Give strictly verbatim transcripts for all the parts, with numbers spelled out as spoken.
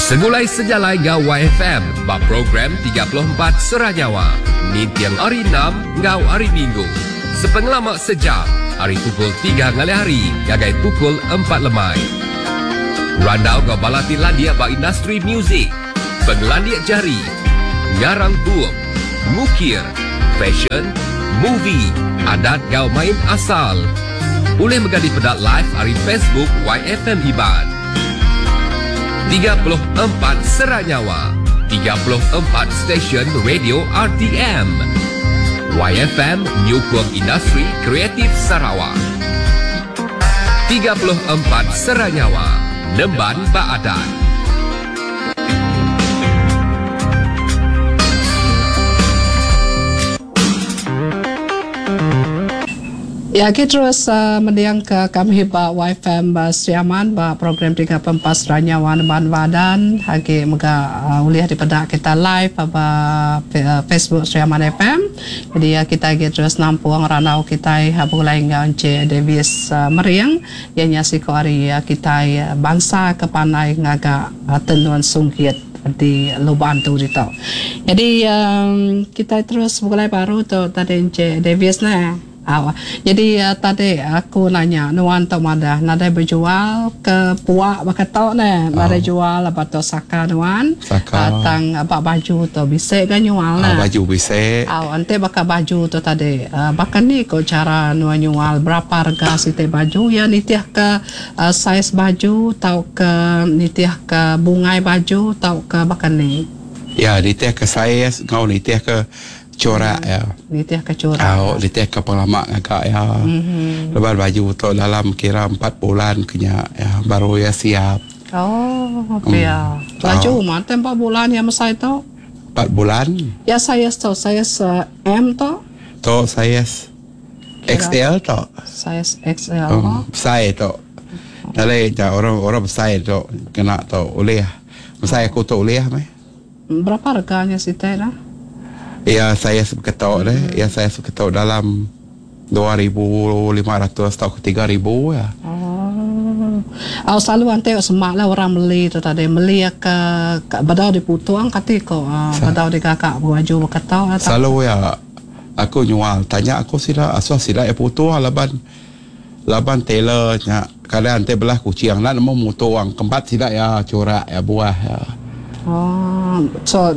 Segulai sejalai enggau Y F M ba program tiga puluh empat Sera Nyawa ninting hari enam enggau hari Minggu. Sepengelama sejam ari pukul tiga ngalih hari ngagai pukul empat lemai. Randau enggau bala ti landik ba industri muzik, pengelandik jari, ngarang bup, ngukir, fashion, movie, adat enggau main asal. Ulih mega dipeda live ari Facebook Y F M Iban. tiga puluh empat Sera Nyawa, tiga puluh empat stesen radio R T M. Y F M nyukung industri kreatif Sarawak. tiga puluh empat Sera Nyawa, Nemban Baadat. Ya, kita terus uh, mendiang ke kami ba Y F M uh, Sri Aman ba program tiga puluh empat Sera Nyawa Nemban Badan. Agi mega uh, ulih daripada kita live ba uh, Facebook Sri Aman F M. Jadi uh, kita agi terus nampung ranau kita uh, begulai enggau Encik Davis uh, Mering yang nyasiko hari uh, kita uh, bangsa kepandai ngaga uh, tenun sungkit di Lubuk Antu ditu. Jadi um, kita terus begulai baru tu tadi Encik Davis nah. Aw. Jadi uh, tadi aku nanya nuan tok madah nadai berjual ke puak bakatok ne, nadai oh. jual apa tok saka nuan. Saka. Uh, tang bak baju tu bisik kan nyual nah. Uh, baju bisik. Aw, ante baka baju tu tadi. Uh, bahkan ni ko cara nuan nyual berapa harga siti baju ya nitih ke uh, saiz baju tau ke nitih ke bungai baju tau ke bahkan ni. Ya, nitih ke saiz ngau nitih ke corak ya. Nitih ke corak. Oh, nitih ke pengalaman agak ya. Mm-hmm. Lepas baju tu dalam kira empat bulan kenya ya baru ya siap. Oh, ya. Mm. Laju oh. Mah empat bulan ya mesai tu. Empat bulan. Ya saya tu saya M tu. Tu saya X L tu. Saya X L. Um, besar tu. Dalai ja orang orang besar tu kena tu boleh. Besar aku tu boleh meh. Berapa harganya sih teh lah? Ya saya seketok deh. Hmm. Ya saya seketok dalam dua ribu lima ratus atau tiga ribu ya. Oh. Oh selalu nanti semak lah orang beli tu tadi beli ke, ke badau diputuang kati ko uh, badau digakak baju berketok atau selalu ya aku nyual tanya aku sila asal sila ya putuang laban laban tailor nya kadang nanti belah kucing nak nemu mutuang kempat sila ya corak ya buah ya. Oh so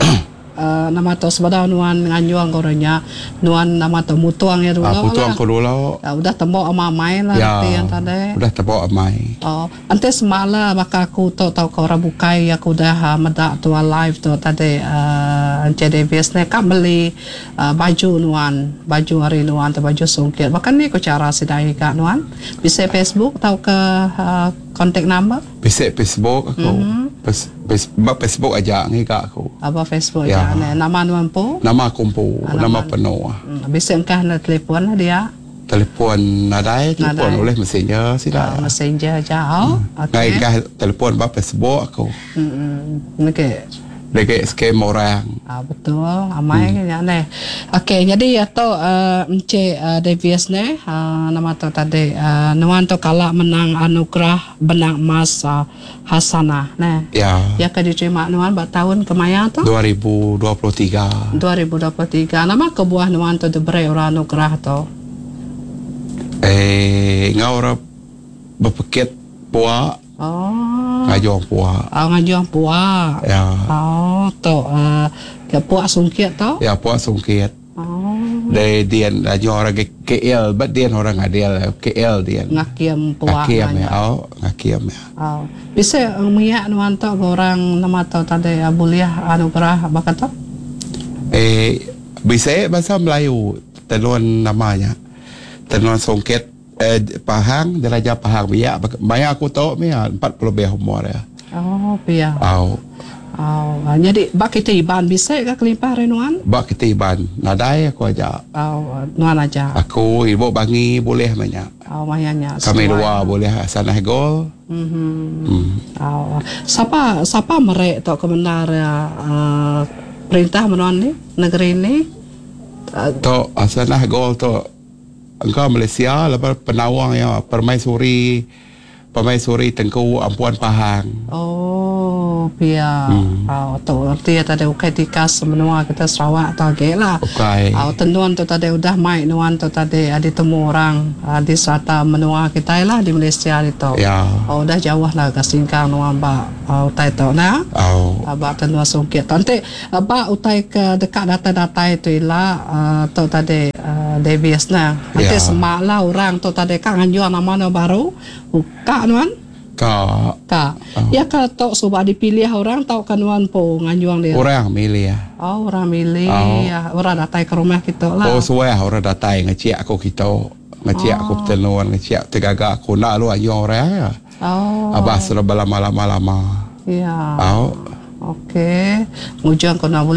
Uh, nama tu sebadau nuan nganjuang korangnya nuan nama tu mutuang ya dulu ah, mutuang ko dulu ya, udah tembok amai lah ya, yang tadi udah tembok amai oh ante semala baka aku tu tau ke orang bukai aku udah uh, medak tu live tu tadi uh, Encik Davis ni kak beli uh, baju nuan baju hari nuan tu baju sungkit bahkan ni ko cara sidai kak nuan bisa Facebook tau ke uh, contact number bisa Facebook aku mm-hmm. Pes, pes, Facebook aja ngi kak aku. Apa Facebook ya. Aja. Nama nuan po? Nama aku po, ah, nama, nama penuh. Hmm, bisa engkah na telefon lah dia. Telefon nadai, telefon oleh messenger sila. Oh, messenger aja. Oh, hmm. Okey. Engkah telefon ba Facebook aku. Hmm. Okey. Dek scam orang. Ah betul, amai hmm. kan ne. Okey, jadi atau uh, Encik uh, Davis ne, uh, nama tu tadi uh, nuan tu kalah menang anugerah benang emas uh, Hasanah ne. Ya. Ya ke diterima nuan ba tahun kemaya tu? dua ribu dua puluh tiga. dua ribu dua puluh tiga. Nama kebuah nuan tu diberi orang anugerah tu? Eh, ngau orang berpekit puak. Oh. Ngajuang puak. Oh, ngajuang puak. Ya. Oh, tu uh, ke puak sungkit tu? Ya, puak sungkit. Oh. Dari dian ngajuang orang K L, but dian orang ngadil K L dian. Ngakiam puak. Ngakiam ya. Oh, ngakiam ya. Oh. Bisa miak nuan tu orang nama tu tadi boleh anugerah bakat tu? Eh, bisa bahasa Melayu tenun namanya. Tenun sungkit. Eh, Pahang, Diraja Pahang biak banyak aku tahu ni empat puluh lebih umur ya. Oh, biak. Oh. Oh, jadi bak kita Iban bisa ke kelimpah renuan? Bak kita Iban, nadai aku aja. Oh, nuan aja. Aku ibu bangi boleh banyak. Oh, mayanya. Kami dua boleh sanah gol. Mhm. Mm. Oh, siapa siapa merek tok kebenar uh, perintah menuan ni negeri ni? Uh, tok sanah gol tok engkau Malaysia lepas penawang ya permaisuri Permaisuri Tengku Ampuan Pahang. Oh, pia. Hmm. Oh, tu arti tadi ukai tikas menua kita Sarawak tu agi lah. Ukai. Oh, tenun tu tadi udah mai nuan tu tadi ada temu orang ah, di serata menua kita lah di Malaysia itu. Ya. Oh, udah jauh lah ke singkang nuan ba oh, utai tu nah. Oh. Ba tenun sungkit. Nanti ba utai ke dekat datai-datai tu ila uh, tu tadi uh, Davis nah. Nanti Ya. semak lah orang tu tadi kak nganjuang nama nu baru. Buka nuan. Ka Kak. Oh. Ya ke tok subak dipilih orang tau kan nuan po nganjuang dia. orang milih. Oh, orang milih. Oh. Ya, orang datai ke rumah kita lah. Oh suah orang datai ngecik aku kita. Ngecik aku tenun, ngecik tergagak aku nak lu anjung orang ya. Oh. Abah sudah berlama-lama lama. Ya. Oh. Okey. Ngujung kau nak boleh